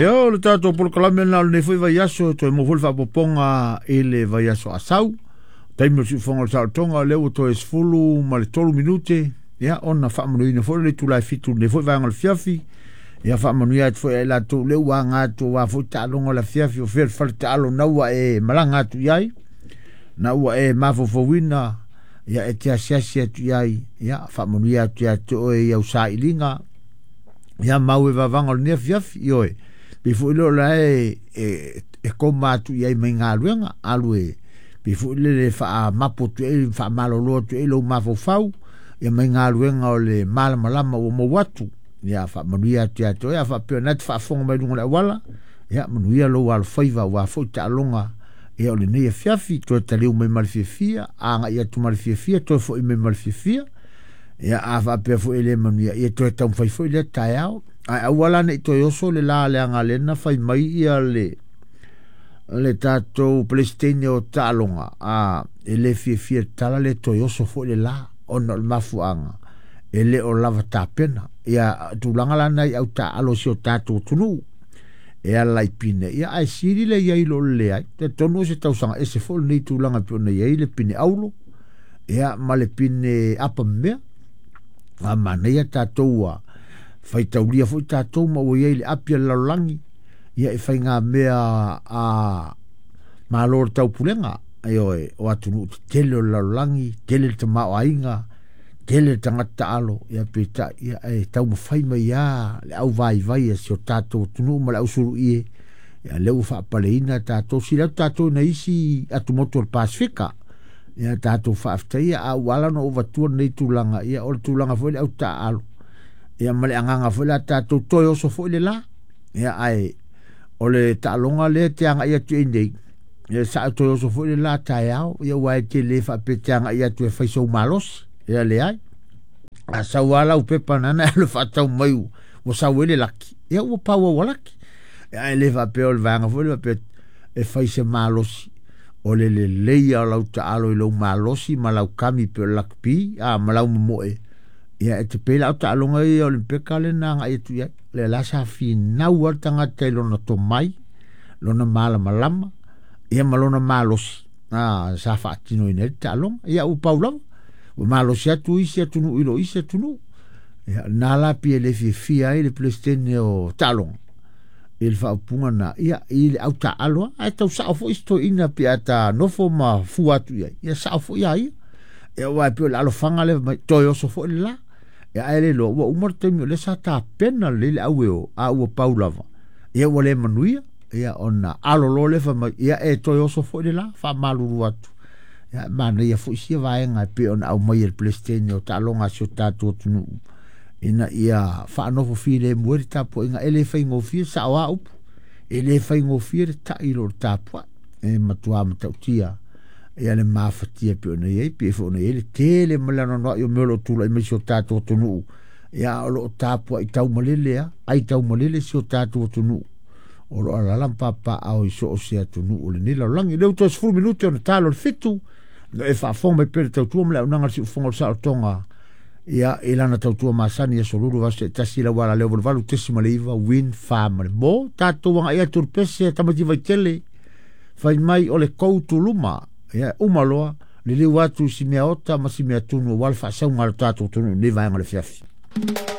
Ia, o le tatou polokalame lena o lenei foi vaiaso, toe maua foi le faaopoopoga i le vaiaso a sau. Taimi o le siufofoga o le saolotoga, o lea ua toe 13 minute, ia ona faamanuina foi le itula e 7 i lenei foi vaega o le afiafi. Ia faamanuia atu foi ia i latou lea ua aga atu aua foi taaloga o le afiafi, o fea le fale taalo na ua e malaga atu i ai, na ua e mafaufauina, ia e te asiasi atu i ai, ia faamanuia atu ia te oe i au sailiga, ia mau e vavaga o lenei afiafi, ioe, pei foi lea o la e koma atu i ai mai galuega, alu e pei foi lele faamapu atu ai, faamalolo atu ai lou mafaufau, ia mai galuega o le malamalama ua maua atu, ia faamanuia atu ia te oe, a faapea na te faafofoga mai luga o le auala, ia manuia lou alofaiva aua foi taaloga ia o lenei afiafi, toe taliu mai ma le fiafia, agai atu ma le fiafia, toe foi mai ma le fiafia, ia a faapea foi e le manuia, ia toe taumafai foi lea taeao, ae aua la ne i toe oso le la leaga lea na fai mai ia le tatou Peresetene o taaloga, a e le fiafia le tala le toe oso foi le la, ona o le mafuaaga e le o lava tapena. Ia tulaga la na i au taaalo si o tatou atunuu e ala i pine, ia ae sili le iai lo le leai. Talitonu o se tausaga ese foi lenei tulaga pei ona iai le pine aulo, ia ma le pine apa mea. A manaia tatou ua faitaulia foi tatou ma ua iai le api a le lalolagi, ia e faiga mea a malo le taupulega, ioe, o atunuu tetele o le lalolagi, tele le tamaoaiga, tele le tagata taalo, ia peitai, ia e taumafai mai lava le auvaivai a si o tatou atunuu ma le ausuluie, ia lea ua faapaleina tatou, sili atu tatou i nai isi atumotu o le Pasefika. Ia tatou faafetaia, a ua ala ona ou avatua lenei tulaga, ia o le tulaga foi le au taaalo, ia ma le agaga foi la tatou toe oso foi le la, ia ae o le taaloga lea te agai atu i nei, ia sa toe oso foi le la taeao, ia ua e te le faapea te agai atu e fai sou malosi, ia leai. A sau lava lau pepa nana e alu faatau mai ua sau ai le laki, ia ua pau au laki. Ia ae le faapea o le vaega foi le faapea e fai se malosi, o le lelei o lau taalo i lou malosi ma lau kami pe o le lakpi, a ma lau momoe, ia e te pei la o taaloga ia Olimpeka le na agai atu i ai. Le la sa finau lava le tagata i lona tomai, lona malamalama, ia ma lona malosi, a sa faatinoina ai le taaloga. Ia ua pau lava, ua malosi atu isi atunuu i lo isi atunuu. Ia na la pei e le fiafia ai le Peresetene o taaloga i le faaupuga na, ia i le au taalo, ae tau sao foi si toeaina pe a ta nofo ma fua atu i ai, ia sao foi a ia. Ia ua e pei o le alofaga lea mai, toe oso foi le la. Ia ae le iloa, ua uma le taimi o lea sa tapena lelei le au e o, a ua pau lava. Ia ua le manuia, ia ona alo loa lea fai mai, ia e toe oso foi le la, faamalulu atu. Ia manaia foi sia vaega e pei ona aumai e le Peresetene o taaloga a si o tatou atunuu, ina ia faanofo filemu ai le tapuaiga. E le faigofie, sao lava upu, e le faigofie le tai i lo le tapuai, e matua matautia ia le mafatia pei ona i ai, pei foi ona i ai le tele ma le anoanoai o mea o lo o tulai mai si o tatou atunuu, ia o lo o tapuai taumalele lava, ai taumalele si o tatou atunuu, o lo o alaala ma papaaao i so o se atunuu o lenei lalolagi. Lea ua toe 10 minute ona talo le 7, no e faafofoga mai pea le tautua ma le auaunaga a le siufofoga o le saolotoga, ia i lana tautua masani aso lulu vaiaso taitasi lau ala leo 88.9 win fa ma le mo. Tatou agai atu le pese tamaiti vaitele, fai mai o le kou tuluma, ia uma loa, liliu atu si mea ota ma si mea tunu aua le faasauga a le tatou atunuu i lenei vaega o le afiafi.